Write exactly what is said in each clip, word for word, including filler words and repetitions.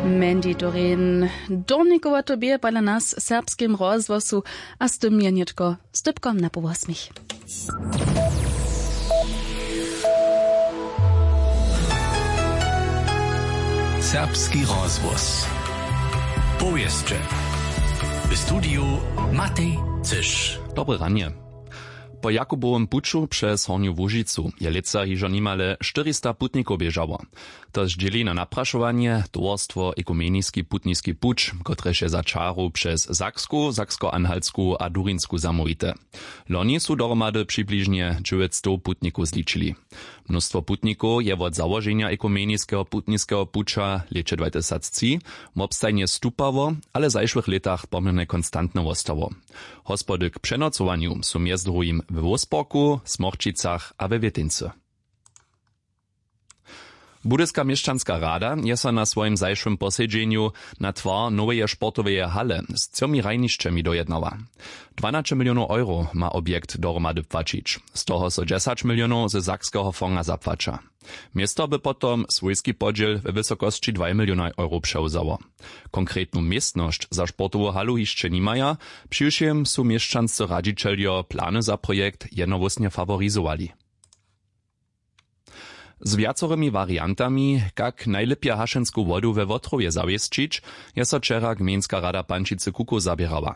Mandy Doreen. Dornikowato bě podla nas w serbskim rozhłosu, a z tym je nětko z dypkom na pół wosmich. Serbski rozhłos. Powěsće. W studiju Matej Cyš. Dobre ranje. Po Jakubowym puću přez Hornju Łužicu je lětsa hižo nimale štyrista putnikow běžało. To zdźěli na naprašowanje towarstwo Ekumeniski putniski puć, kotrež je za čaru přez Saksku, Saksko-Anhaltsku a Durinsku zamołwite. Loni su dohromady přibližnje dźewjećstow putnikow zličili. Mnóstwo putnikow je wot załoženja Ekumeniskeho putniskeho puća w lěće dwatysactři wobstajnje stupało, ale w zašłych lětach poměrnje konstantne wostało. Hospody k přenocowanju su mjez druhim we Wolfsburgu, Smorčicach a we Wěteńcy. Budyska měšćanska rada je so na swojim zašłym posedźenju na twar noweje sportoweje hale z třomi hrajnišćemi dojednała. Dwanaće milionow euro ma objekt dohromady płaćić, z toho so dźesać milionow ze sakskeho fonga zapłaća. Město by potom swójski podźěl we wysokosći dwaj milionaj euro přewzało. Konkretnu městnosć za sportowu halu hišće nimaja, přiwšěm su měšćanscy radźićeljo plany za projekt jednohłósnje faworizowali. Z wjacorymi wariantami, kak najlěpje hašensku wodu we Wotrowje zawěsćić, je so wčera gmejnska rada Pančicy Kukow zaběrała.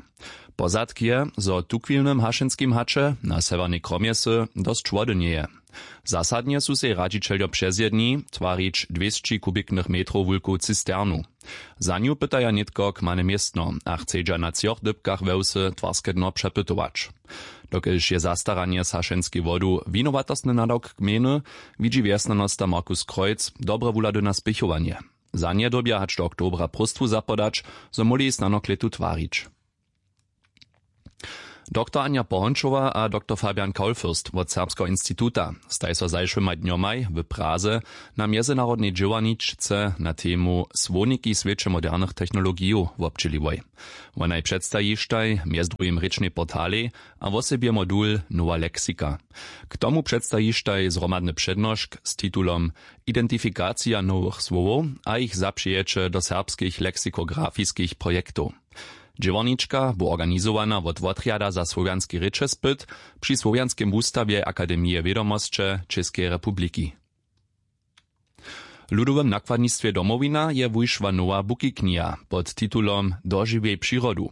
Pozadk je, zo w tuchwilnym hašenskim haće na sewjernej kromjesy dosć wody njeje. Zasadnje su sej radźićeljo přezjedni twarić dwěsći kubiknych metrow wulku cisternu. Za nju pytaja nětko kmane městno a chcedźa na třoch dypkach we wsy twarske dno přepytować. Dokelž je zastaranje z hašenskej wodu winowatostny nadawk gmejny, widźi wjesnjanosta Markus Kreuz dobre wuhlady na spěchowanje. Za nje dyrbja hač do oktobra próstwu zapodać, zo móhli snano klětu twarić. Doktor Anja Pohončowa a doktor Fabian Kaulfürst wot Serbskeho instituta staj so zašłyma dnjomaj w Praze na mjezynarodnej dźěłarničce na temu Słowniki w swěće modernych technologijow wobdźěliłoj. Wonaj předstajištaj mjez druhim rěčnej portalej a wosebje modul Nowa leksika. K tomu předstajištaj zhromadny přednošk z titulom Identifikacija nowych słowow a jich zapřijeće do serbskich leksikografiskich projektow. Dźěłarnička bu organizowana wot Wotrjada za słowjanski rěčespyt při Słowjanskim wustawje Akademije wědomosće Čěskeje republiki. W Ludowym nakładnistwje Domowina je wušła nowa bukikniha pod titulom Dožiwjej přirodu.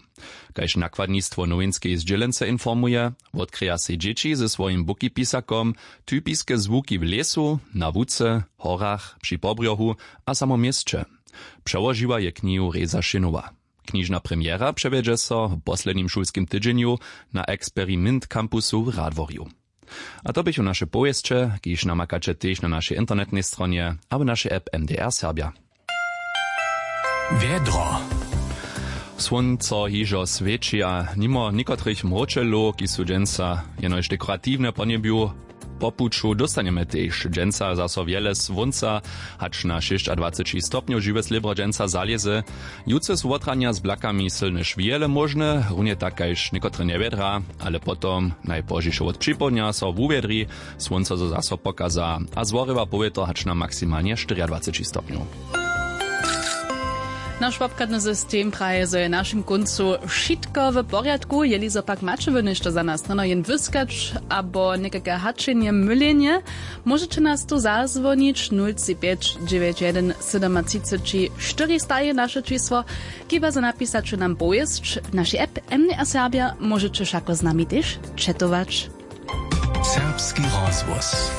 Kaž nakładnistwo nowinskeje zdźělence informuje, wotkrěja sej dźěći ze swojim bukipisakom typiske zwuki w lěsu, na łuce, horach, při pobrjohu a samo w měsće. Přełožiła je knihu Reza Šinowa. Knižna premjera přewjedźe so w poslednim šulskim tydźenju na Experimint Campusu w Radworju. A to běchu naše powěsće, kiž namakaće tež na našej internetnej stronje abo našej app M D R Serbja. Wjedro. Słónco hižo swěći a nimo někotrych mróčelow, kiž su dźensa jenož dekoratiwne po njebju, po puću dóstanjemy tež dźensa zaso wjele słónca, hač na šěsćadwaceći stopnjow žiwe slěbro dźensa zalěze. Jutře su wotranja z blakami sylne šwěle móžne, runje tak kaž někotre njewjedra, ale potom najpozdźišo wot připołdnja so wuwjedri, słónco zo zaso pokaza a zhorjewa powětro hač na maksimalnje štyriadwaceći stopnjow. Naš wobchadny system praje, zo je w našim kóncu wšitko w porjadku. Jeli zo pak maće wy něšto za nas, rano jen wyskać abo někake hačenje, mylenje, móžeće nas tu zazwonić: nul tři pjeć dźewjeć jedyn sydomatřiceći štyristaje naše čisło. Chiba zo napisać nam powěsć w našej app M D R Serbja, móžeće wšako z nami tež četować. Serbski rozhłos.